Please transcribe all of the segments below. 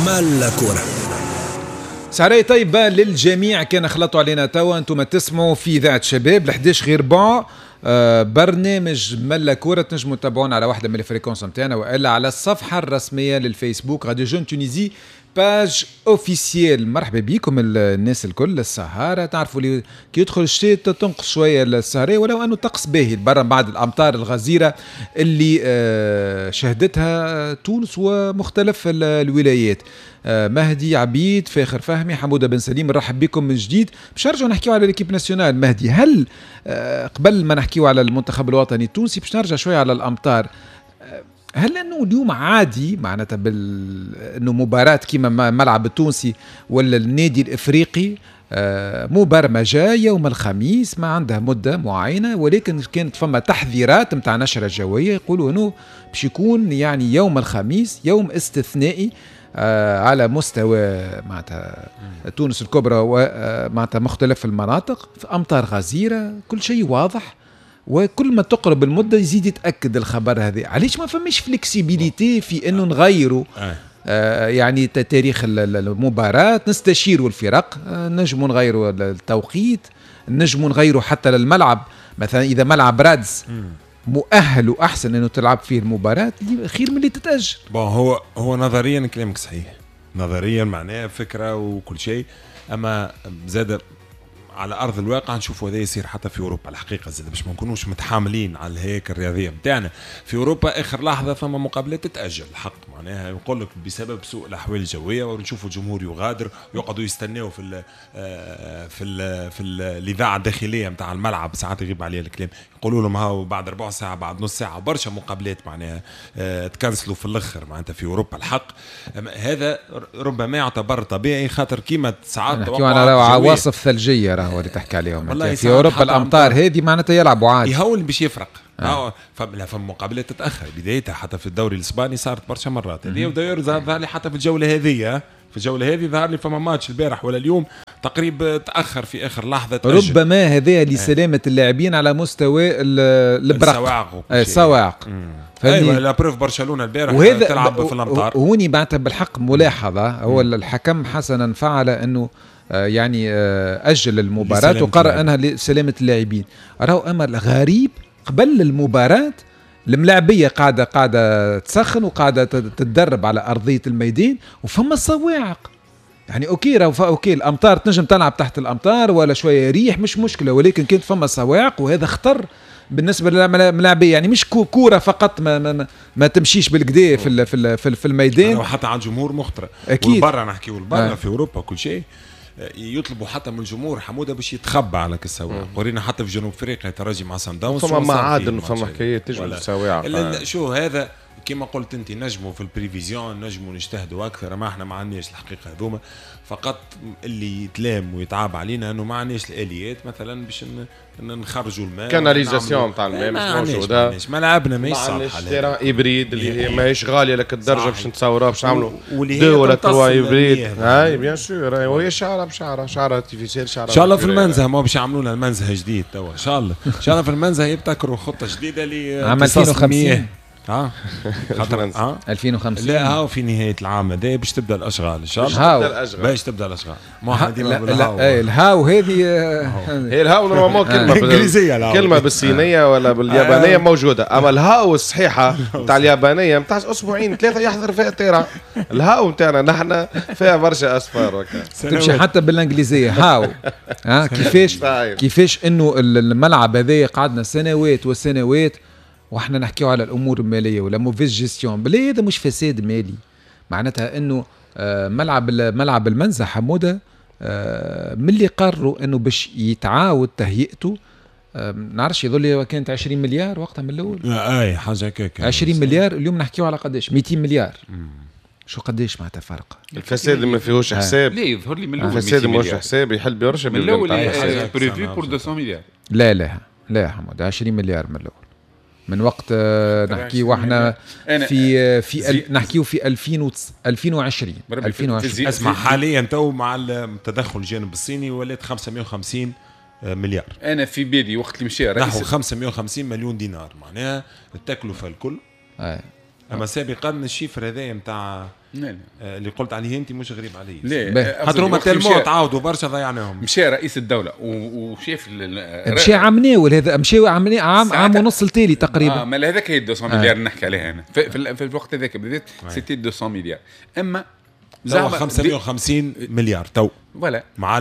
مالا كورة. سهرية طيبة للجميع، كان خلطوا علينا توا انتم تسمعوا في إذاعة شباب 11 غير ربع، برنامج ملا كورة. تنجموا تتابعونا على واحدة من ال fréquences نتاعنا والا على الصفحة الرسمية للفيسبوك Radio Jeune Tunisie page officielle. مرحبا بكم الناس الكل. السهارة تعرفوا اللي كي يدخل الشتاء تنقص شوية السهرية، ولو أنه طقس باهي برا بعد الأمطار الغزيرة اللي شهدتها تونس ومختلف الولايات. مهدي عبيد، فاخر فهمي، حمودة بن سليم، نرحب بكم من جديد. باش نرجعوا نحكيو على l'équipe nationale. مهدي، هل قبل ما نحكيو على المنتخب الوطني التونسي باش نرجع شوية على الأمطار، هل انه اليوم عادي معناتها انه مباراة كيما ملعب التونسي ولا النادي الافريقي مبرمجة يوم الخميس، ما عندها مدة معينة، ولكن كانت فما تحذيرات نتاع نشرة جوية يقولوا انه باش يكون يعني يوم الخميس يوم استثنائي على مستوى معناتها تونس الكبرى ومعناتها مختلف المناطق، في امطار غزيرة، كل شيء واضح، وكل ما تقرب المدة يزيد يتاكد الخبر هذا. علاش ما فماش flexibilité في انه نغيروا يعني تاريخ المباراة، نستشيروا الفرق، نجموا نغيروا التوقيت، نجموا نغيروا حتى للملعب، مثلا اذا ملعب رادس مؤهل واحسن انه تلعب فيه المباراة خير من اللي تتاجل. bon هو نظريا كلامك صحيح، نظريا معناه فكرة وكل شيء، اما زاد على ارض الواقع نشوفوا هذا يصير حتى في اوروبا الحقيقة، زاد باش ما نكونوش متحاملين على الهياكل الرياضية نتاعنا. في اوروبا اخر لحظة فما مقابلات تتاجل الحق، معناها نقول لك بسبب سوء الاحوال الجوية، ونشوفوا الجمهور يغادر ويقعدوا يستناو في ال في ال في الاذاعة الداخلية نتاع الملعب، ساعات يغيب عليها الكلام، يقولوا لهم هاو بعد ربع ساعة بعد نص ساعة. برشا مقابلات معناها تكنسلوا في الاخر معناتها في اوروبا الحق. هذا ربما يعتبر طبيعي، خاطر كيما ساعات على عواصف ثلجيه راهو اللي تحكي عليهم في اوروبا، الامطار هذه معناتها يلعبوا عادي، يهون باش يفرق. فما مقابلات تتاخر بدايتها، حتى في الدوري الاسباني صارت برشا مرات هذه، وداير ظهر لي حتى في الجولة هذه، في الجولة هذه ظهر لي فما ماتش البارح ولا اليوم تقريبا تاخر في اخر لحظة تأجل. ربما هذا لسلامة اللاعبين على مستوى البرق، الصواعق. ايوه la preuve برشلونة البارح تلعب في الامطار. هوني معناتها بالحق ملاحظة، هو الحكم حسنا فعل انه يعني أجل المباراة وقرر أنها لسلامة اللاعبين. راهو أمر غريب، قبل المباراة الملاعبية قاعدة تسخن وقاعدة تتدرب على أرضية الميدان وفما صواعق. يعني OK راهو OK الأمطار تنجم تلعب تحت الأمطار ولا شوية ريح مش مشكلة، ولكن كانت فما صواعق وهذا خطر بالنسبة للملاعبية. يعني مش كورة فقط ما, ما, ما تمشيش بالكدا في في في الميدان، وحتى على الجمهور مخطرة أكيد. برا نحكيو برا في أوروبا كل شيء يطلبوا حتى من الجمهور حموده باش يتخبى على السواعق. ورينا حتى في جنوب افريقيا ترجي مع سان داونز فما معادن وفما حكايات تجبد السواعق. شو هذا كما قلت انت، نجموا في ال prévision نجموا نجتهدوا اكثر، ما احنا ما عندناش الحقيقة هذوما. فقط اللي يتلام ويتعاب علينا انه ما عندناش الاليات مثلا باش نخرجوا الماء، canalisation تاع الماء مش موجودة، ملعبنا ماهيش صالحه، terrain hybride اللي هي ماهيش غالية لك الدرجة باش نتصوروها باش نعملوا deux ولا trois hybrides. هاي bien sûr، وهي شعره بشعره، شعره artificielle، شعره ان شاء الله في المنزه ما باش يعملوا لنا المنزه جديد توا، ان شاء الله ان شاء الله في المنزه يبتكروا خطه جديدة ل عام 2050. خاطر 2050 لا هاو في نهاية العام هذا باش تبدا الاشغال ان شاء الله، باش تبدا الاشغال. ما احنا ديما بالهاو. الهاو هذه هي الهاو normalement كلمة انجليزية، كلمة بالصينيه ولا باليابانيه موجودة، اما الهاو الصحيحة نتاع اليابانية نتاع اسبوعين ثلاثة يحضر فيها ال terrain. الهاو نتاعنا نحن فيها برشا اصفار تمشي حتى بالانجليزية how. كيفاش انه الملعب هذا قعدنا سنوات وسنوات واحنا نحكيو على الامور المالية ولا mauvaise gestion. بلي هذا مش فساد مالي، معناتها انه ملعب المنزه حموده من اللي قرروا انه باش يتعاود تهيئته، نعرفش يظل كانت 20 مليار وقتها من الاول، اي حاجة هكاك 20 مليار، اليوم نحكيو على قداش 200 مليار. شو قداش معناتها فرق؟ الفساد ما فيهوش حساب. لا يظهر لي من الاول الفساد ما فيهوش حساب، يحل برشا من الاول prévu pour 200 مليار. لا لا لا حمود 20 مليار من الاول، من وقت نحكيو احنا في نحكيو في 2020. اسمع حاليا تو مع التدخل الجانب الصيني ولات 550 مليار. انا في بالي وقت اللي مشى نحو 550 مليون دينار، معناها التكلفة الكل اما سابقا ال chiffre هذايا نتاع اللي قلت عليه انت مش غريب عليه. لا، خاطر هما tellement تعاودوا برشا ضيعناهم. مشى رئيس الدولة وشاف مشى عام ناول هذا، مشى عام عام ونص التالي تقريبا. ما هذاك هي 200 مليار نحكي عليها انا في الوقت هذاك بالذات c'était 200 مليار. اما زعما 550 مليار تو voilà مع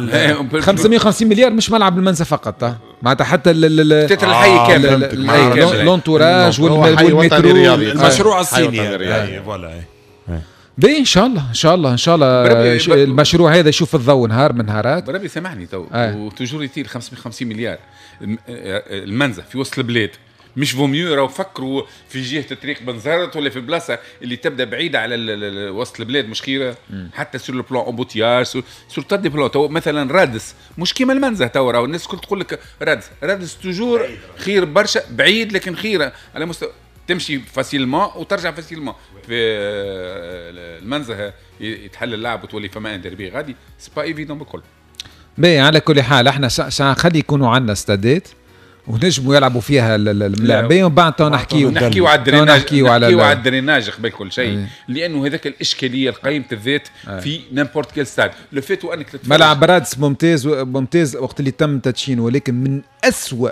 550 مليار مش ملعب المنزه فقط، معناتها حتى تتر الحي كامل، l'entourage والمترو، المشروع الصيني voilà. باهي ان شاء الله ان شاء الله ان شاء الله المشروع هذا يشوف الضوء نهار من نهارات. بربي سامحني تو و toujours يطير 550 مليار المنزه في وسط البلاد مش vaut mieux. راهو فكروا في جهة طريق بنزرت ولا في بلاصة اللي تبدا بعيدة على وسط البلاد مش خيره، حتى sur le plan embouteillage، sur tas de plans. تو مثلا رادس مش كيما المنزه، تو راهو الناس الكل تقول لك رادس رادس toujours خير برشا بعيد، لكن خيره على مستوى تمشي facilement وترجع facilement. في المنزه يتحل اللعب وتولي فما un derby غادي، c'est pas évident بالكل. باهي على كل حال احنا خلي يكونوا عندنا استادات ونجموا يلعبوا فيها الملاعبين، ومن بعد نحكيو على ال drainage، نحكيو على ال drainage قبل كل شيء، لانه هذاك الاشكالية القيمة الذات في n'importe quel stade le fait انك ملعب رادس ممتاز ممتاز وقت اللي تم تدشينه، ولكن من أسوأ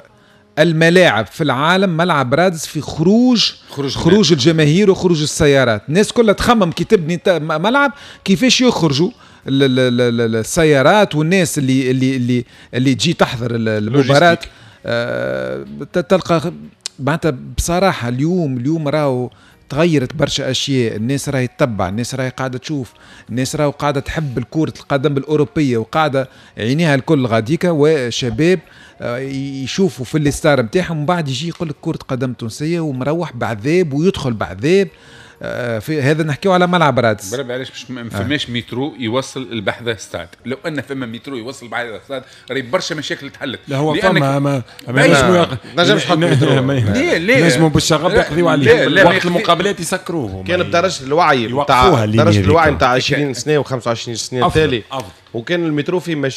الملاعب في العالم ملعب رادس في خروج الجماهير وخروج السيارات. الناس كلها تخمم كي تبني ملعب كيفاش يخرجوا السيارات والناس اللي اللي اللي اللي تجي تحضر المباراة. تلقى معناتها بصراحة اليوم راهو تغيرت برشا اشياء، الناس راهي تتبع، الناس راهي قاعدة تشوف، الناس راهي قاعدة تحب الكرة القدم الاوروبية وقاعدة عينيها الكل غاديكا، وشباب يشوفوا في les stars نتاعهم ومن بعد يجي يقول لك كرة قدم تونسية ومروح بعذاب ويدخل بعذاب. في هذا نحكيو على ملعب رادس. بربي علاش مش ما فماش مترو يوصل البحث ستاد؟ لو ان فما مترو يوصل البحث ستاد راهي برشا مشاكل تحلت. لا هو فما ما نجمش حط مترو. ليه نجموا بالشغب يقضيو عليه وقت المقابلات يسكروه. كان بدرجة الوعي نتاع درجه الوعي نتاع 20 سنة و25 سنة التالي، وكان المترو فيه مشاكل.